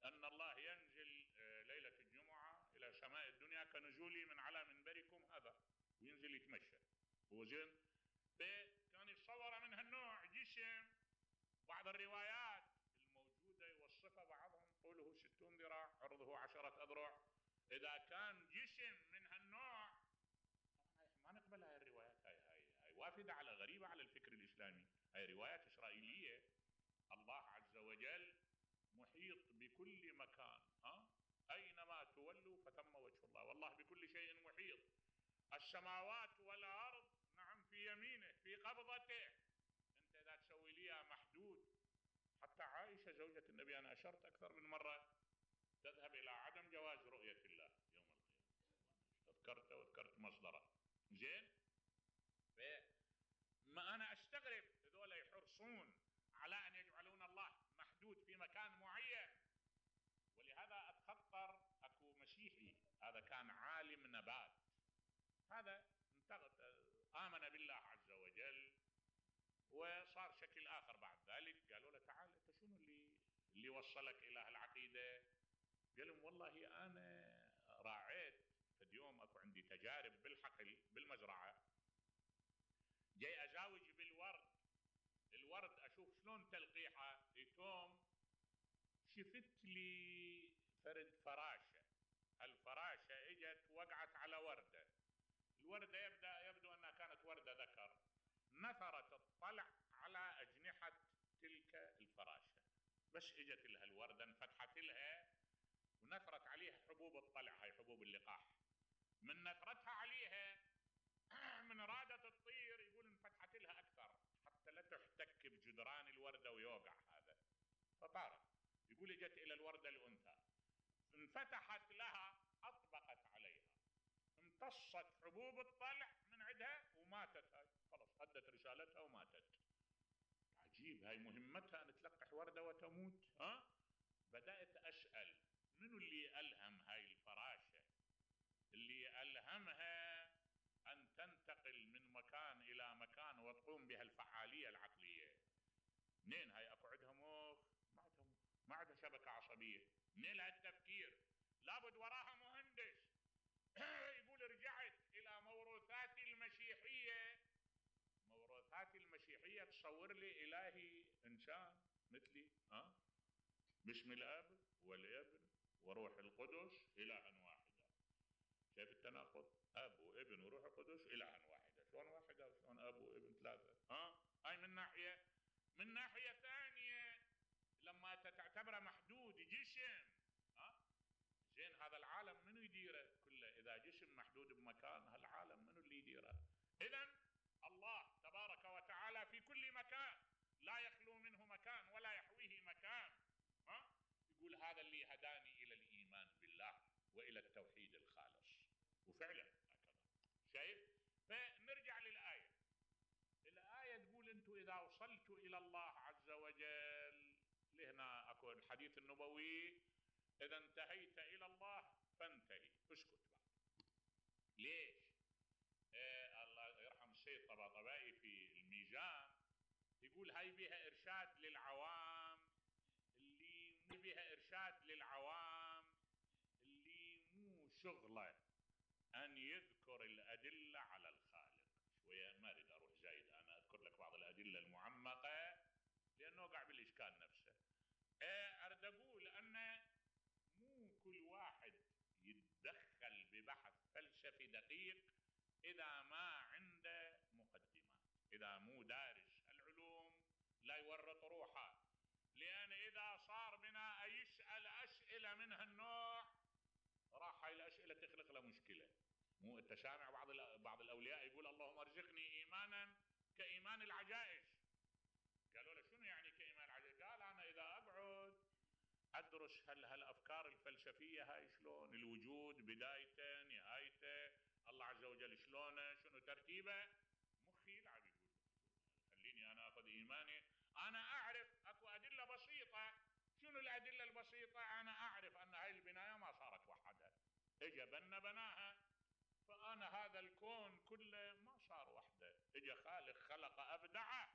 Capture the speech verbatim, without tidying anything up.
ان الله ينزل ليله الجمعه الى سماء الدنيا كنزولي من على منبركم هذا، وينزل يتمشى. وزين فكان يتصور من هالنوع جسم. بعض الروايات الموجوده يوصفها بعضهم طوله ستون ذراع عرضه عشرة اذرع. اذا كان جسم من هالنوع طبعا ما نقبل هاي الروايات، هاي هاي هاي وافده على غريبه على الفكر الاسلامي، هاي روايات اسرائيليه. الله عز وجل محيط بكل مكان، ها اينما تولوا فثم وجه الله، والله بكل شيء محيط. السماوات والارض نعم في يمينه في قبضته. انت اذا تسوي ليها محدود، حتى عائشه زوجة النبي انا اشرت اكثر من مره تذهب الى عدم جواز رؤيه الله يوم القيامه، تذكرت وذكرت مصدره. زين فما انا استغرب هذول يحرصون على ان يجعلون الله محدود في مكان معين. ولهذا اتخطر اكو مسيحي هذا كان عالم نبات، هذا امن بالله عز وجل وصار شكل اخر بعد ذلك. قالوا له تعال انت شنو اللي اللي وصلك الى هالعقيده؟ قال لهم والله انا راعيت فد يوم اكو عندي تجارب بالحقل بالمزرعه، جاي ازاوج بالورد، الورد اشوف شلون تلقيحه يتوم، شفت لي فرد فراشه، هالفراشه اجت وقعت على ورده، الورده يبدا يبدو انها كانت ورده ذكر، نثرت الطلع على اجنحه تلك الفراشه، بس اجت لها الورده انفتحت لها ونثرت عليها حبوب الطلع، هاي حبوب اللقاح، من نثرتها عليها من رادت الطير يقول انفتحت لها اكثر حتى لا تحتك بجدران الورده ويوقع هذا، فطارت. يقول اجت الى الورده الانثى انفتحت لها اطبقت عليها، امتصت حبوب الطلع من عندها وماتت، هاي خلاص ادت رسالتها وماتت. عجيب، هاي مهمتها ان تلقح ورده وتموت. ها بدات اسال منو اللي الهم هاي الفراشه، اللي الهمها ان تنتقل من مكان الى مكان وتقوم بها الفعاليه العقليه؟ منين هاي؟ اكو عندها مخ؟ ما عندها مخ، ما عندها شبكه عصبيه، منين لها التفكير؟ لابد وراها مهندس. يقول رجعت الى موروثاتي المسيحيه، موروثاتي المسيحيه تصور لي الهي انسان مثلي، ها باسم الاب والابن وروح القدس الها واحدا. شايف التناقض؟ اب وابن وروح القدس الها واحده، شلون واحده وشلون اب وابن ثلاثه؟ ها هاي من ناحيه. من ناحيه ثانيه لما تعتبره محدود جسم، ها زين هذا العالم منو يديره كله؟ اذا جسم محدود بمكان هالعالم منو اللي يديره؟ اذا الله تبارك وتعالى في كل مكان لا يخلو منه مكان ولا يحويه مكان. ها يقول هذا اللي هداني الى الايمان بالله والى التوحيد الخالص، وفعلا هكذا. شايف؟ فنرجع للايه. الايه تقول انتم اذا وصلتوا الى الله عز وجل، لهنا اكو الحديث النبوي اذا انتهيت الى الله فانتهي، اسكت بعد. ليش؟ إيه الله يرحم السيد طباطبائي في الميزان يقول هاي بها ارشاد للعوام اللي مو بها ارشاد للعوام اللي مو شغله ان يذكر الادله على الخالق. شويه ما اريد اروح زايد، انا اذكر لك بعض الادله المعمقه لانه وقع بالاشكال نفسه. إيه اريد اقول ان مو كل واحد يتدخل ببحث فلسفي دقيق اذا ما عنده مقدمات، اذا مو دارس العلوم لا يورط روحه، لان اذا صار بنا يسال اسئله من هالنوع راح هاي الاسئله تخلق له مشكله. مو انت سامع بعض بعض الاولياء يقول اللهم ارزقني ايمانا كايمان العجائز؟ قالوا له شنو يعني كايمان العجائز؟ قال انا اذا اقعد ادرس هل هالافكار الفلسفيه هاي شلون، الوجود بدايته نهايته، الله عز وجل شلونه، شنو ترتيبه، مخي يلعب. يقول خليني انا اخذ ايماني، انا اعرف اكو ادله بسيطه. شنو الادله البسيطه؟ انا اعرف ان هاي البنايه ما صارت وحدها، اجى بنا بناها، فانا هذا الكون كله ما صار وحده، اجى خالق خلق ابدعه،